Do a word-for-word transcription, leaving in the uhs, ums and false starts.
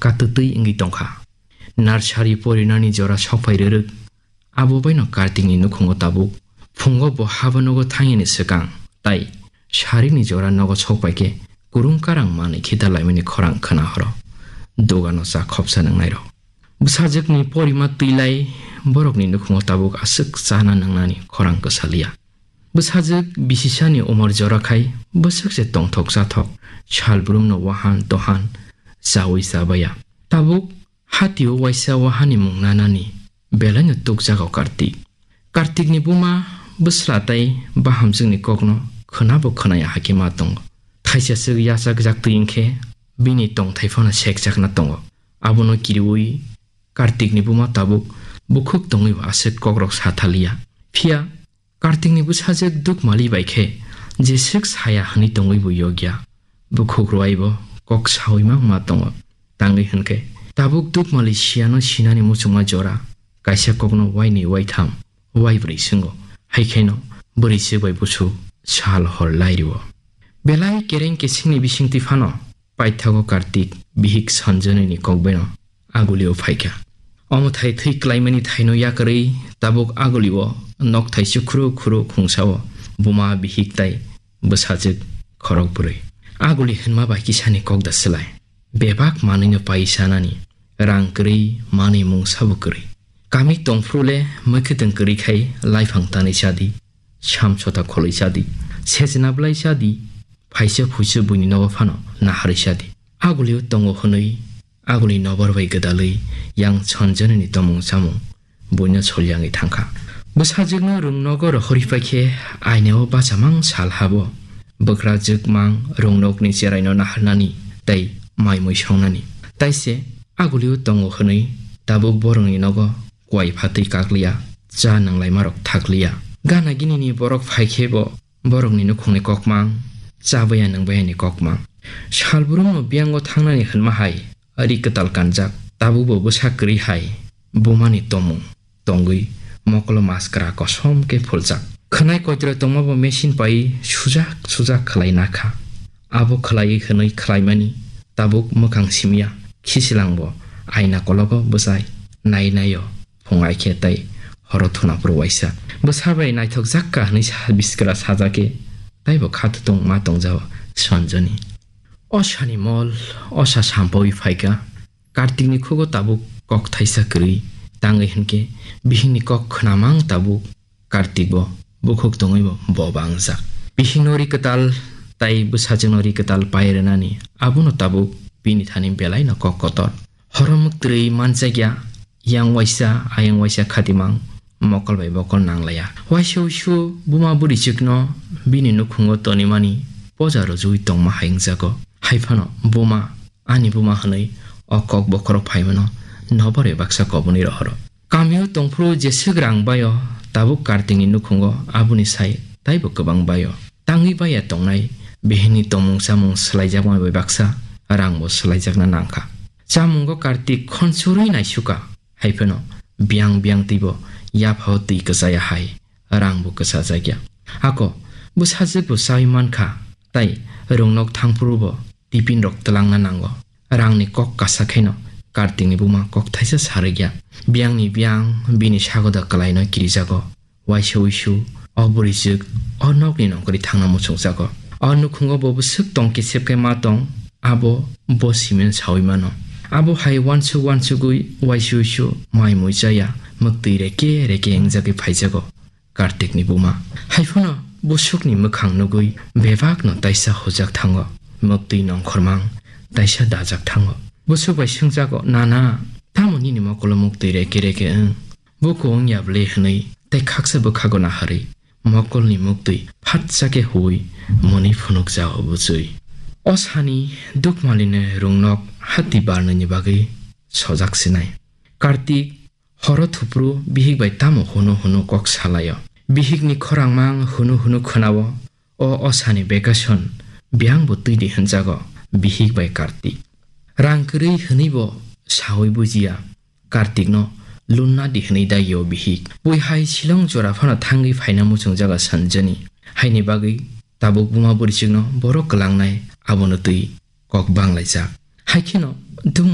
katwtwi wngwi tongkha. Nursery porinani jora sokphai rwrwk, abo baino Kartikni nukhungo tabuk. Phungo bo haba nogo thangyani swkang, tai sarikni jora nogo sokpaikhe kurung karang manwi khita laimani khorang khna horo. Dogano cha khopsa nangnairok. Bwsajwkni porima twilai borokni nukhungo tabuk aswk chana nangnani khorang kwsaliya. Bwsajwk bisisani umor jora khai bwswk se tongthok chathok, salbrumno wahan tohan chawi chabaya. Tabuk hatio waisa wahani mung nanani belaino tukjago Kartik. Kartikni buma bwsla tai bahamjwkni kokno khwnabo khwnaya hakhe ma tongo. Thaisa swk yachak jaktwi wngkhe bini tongthai phano sekjakna tongo. Abono kiriwi Kartikni buma tabuk bukhuk tongwibo aswk kokrok sa thaliya. Phiya Kartikni bwsajwk Dukmali bai khe jeswk saya hwnwi tongwibo yokya. Bukhuk rwaibo kok sawi mangma tongo. Tangwi hwnkhe tabuk Dukmali siyano sinani muchungma jora, kaisa kokno wainwi waitham, waibrwi swngo. Haikheno bwrwi swk bai busu sal hor lairiwo. Belai kereng kesengni bisingtwi phano paithago Kartik bihik Sanjanini kokbeno agulio phaikha. Omo thai thwi klaimani thaino yakarwi tabuk agulio nokthai sukhru khuru khungsao buma bihik tai bwsajwk khorok bwrwi. Aguli hwnma bai kisani kok da swlai. Bebak manwino pai sanani, rang kwrwi manwi mung sabo kwrwi. Kami tongphuru le mwkhwtwng kwrwi khai laiphang tanwi chadi, samsota kholwi chadi, sejna bwlai chadi, phaisa phuisu buini nogo phano naharwi chadi. Agulio tongo hwnwi aguli nobar bai gwdalwi yang Sanjanini tomung chamung buino solyangwi thangkha. Bwsajwkno rwngnogo rohorwi paikhe ainao bachamang sal habo. Bwkrajwkmang rwngnokni cheraino naharnani tei mai mui songnani. Taise agulio tongo hwnwi tabuk borokni nogo kuai phatwi kakliya, cha nwnglaimarok thakliya. Gana ginini borok phaikhebo borokni nukhungni kokmang, chabaya nwngbayani kokmang. Salbrumno biyango thangnani hwnma hai ri kwtal kanjak, tabukbo bwsa kwrwi hai bumani tomung tongwi mokolo maskra kosom khe phuljak. Khwnai koitro tongmabo machine pai sujak sujak khlai nakha. Abo khlaiwi hwnwi khlaimani tabuk mwkhang simya, khisilangbo aina kologo bwsai nai naio. Phung ai khe tei horo thuna phuru waisa bwsa bai naithok jak ka hwnwi sa biskra sajak khe taibo kha thutung ma tongjao Sanjani. O sani mol, o sa sampawi phaikha. Kartikni khugo tabuk kok thaisa kwrwi tangwi hwnkhe bihikni kok khwnamang tabuk Kartik bo bukhuk tongwi bo bo bangjak. Bihikno ri kwtal tai bwsajwkno ri kwtal pai rwnani abono tabuk bini thani belaino kok kotor. Horo mwktwrwi manjakya, yang waisa ayang waisa khatimang mokol bai bokol nanglaiya. Waisa uisu buma bwrwichwkno bini nukhungo tonimani poja rwjagwi tongma hai wngjago. Haiphano buma, ani buma hwnwi o kok bokhorok phaimano nobar bai baksa kobonwi rohoro. Kamio tongphuru jeswk rang baio, tabuk Kartikni nukhungo aboni sai taibo kwbang baio. Tangwi baiya tongnai bihikni tongmung chamung swlaijakma bai baksa rangbo swlaijakna nangkha. Chamungo Kartik khonsurwi naisukha, haiphano biyang biyang twibo yaphao twi kwchaya hai rangbo kwchajakya. Ako bwsajwkbo chawi mankha, tai rwngnok thangphurubo tipinrok twlangna nango. Rangni kok kasa khaino Kartikni buma kok thaisa sarikya. Biyangni biyang bini sagoda kwlaino kirijago. Waisa uisu o bwrwichwk o nokni nongkhorwi thangna muchungjago. O nukhungo bo bwswk tong kisep khe ma tong, abo bo simen sawi mano. Abo hai uansuk uansugwi waisa uisu mai mui chaya, mwktwi reke reke wngjagwi phaijago. Kartikni buma. Haiphano busukni mwkhang nugwi bebakno taisa hojak thango, mwktwi nongkhormang taisa dajak thango. Busuk bai swngjago, "Nana, tamo nini mokolo mwktwi reke reke wng? Buku wngya ble?" hwnwi tei khaksa bwkhago naharwi mokolni mwktwi phatsa khe huwi mwnwi phunukjago buchwi. O sani Dukmalini rwngnok hati barnwini bagwi sojak sinai. Kartik horo thupru bihik bai tamo hunu hunu kok salaio. Bihikni khorangmang hunu hunu khwnao. O, o sani vacation biyangbo twi di hwnjago bihik bai Kartik. Rang kwrwi hwnwibo sawi bujiya, Kartikno lunna di hwnwi dagio bihik. Bui hai Shillong jora phano thangwi phaina muchungjago Sanjani. Haini bagwi tabuk buma bwrwichwkno borok kwlangnai abono twi kok banglaijak. Haikheno